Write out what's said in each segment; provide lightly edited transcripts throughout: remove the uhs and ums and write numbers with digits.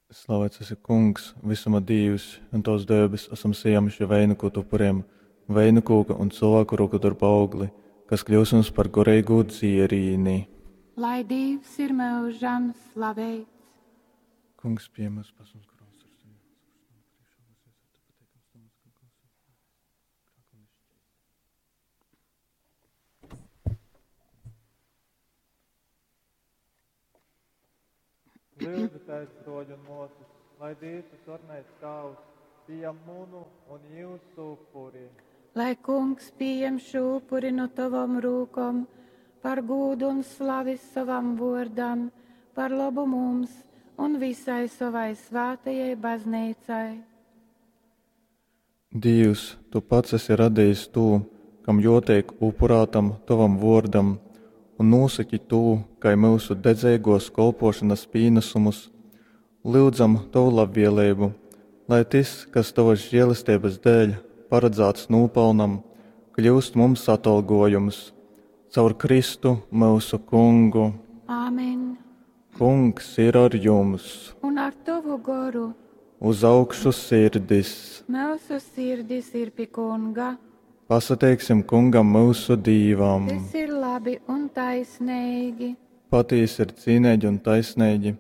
Slavēts esi, Kungs, visuma Dīvs, un Tavs dēbes esam sajāmuši veinuku upuriem, veinu kūka un cilvēku roku darba augli, kas kļūs mums par goreīgū dzierīni. Lai Dīvs ir mūžam slaveits. Kungs, pie mums pasums grūts ar sevi. Lūdzu, broļi un mūsas, lai Dievs visvarenais Tēvs pieņem munu un jūsu upuri. Lai kungs pieņem šo upuri no tavam rūkom, par gūdu un slavi savam vārdam, par labu mums un visai savai svētajai baznīcai. Dievs, tu pats esi radījis to, kam jotiek upurātam tavam vārdam, un nosaki to, kai mūsu dedzīgos kolpošanas pienesumus. Lūdzam tavu labvēlību, lai tas, kas tavas žēlastības dēļ paredzēts nopelnam, kļūst mums atalgojums. Caur Kristu mūsu kungu. Āmen. Kungs ir ar jums. Un ar tavu goru. Uz augšu sirdis. Mūsu sirdis ir pie kunga. Pasateiksim kungam mūsu dīvam. Tas ir labi un taisnīgi. Patīsi ir cīnīgi un taisnīgi,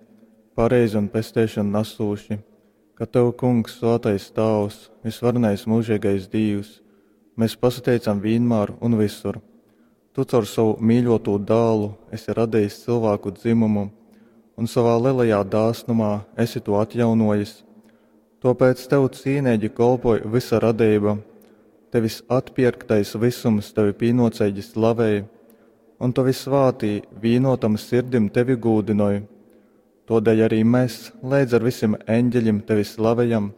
pareizi un pesteišanu nesūši, ka tev, kungs, svētais Tēvs, visvarenais mūžīgais Dievs, mēs pasateicam vienmēr un visur. Tu caur savu mīļoto dēlu esi radījis cilvēku dzimumu, un savā lielajā dāsnumā esi to atjaunojis. Tāpēc tev cīnīgi kolpoja visa radība, tevis atpirktais visums tevi pīnocīgi slavēja, un tavi svātī vīnotam sirdim tevi gūdinoja. Todēļ arī mēs līdz ar visiem eņģeļiem tevi slavējam,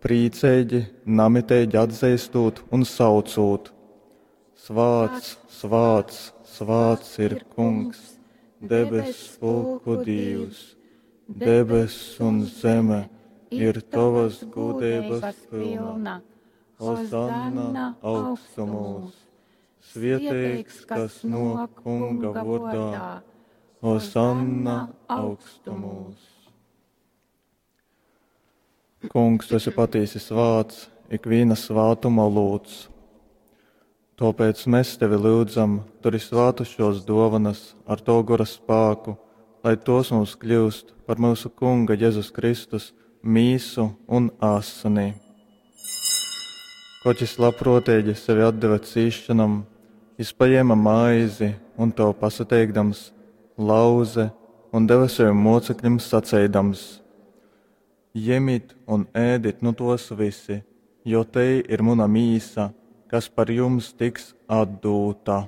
priecīgi, namitīgi atzīstot un saucot. Svāts, svāts, svāts ir kungs, debes pulku Dievs, debes un zeme ir tavas gudrības pilna. Hosanna augstumos, svietīgs, kas no kunga vārdā. Hosanna augstumos. Kungs, tu esi patiesi svāts, ikviena svātuma lūdz. Tāpēc mēs tevi lūdzam, turi svātu šos dovanas ar to gora spēku, lai tos mums kļūst par mūsu Kunga Jēzus Kristus mīsu un asini. Koķis labprātīgi sevi atdeva cīšanam, jis paņēma maizi un to pasateikdams, lauze un deva saviem mocekļiem sacīdams: Ņemiet un ēdit nu tos visi, jo te ir mana mīsa, kas par jums tiks atdūta.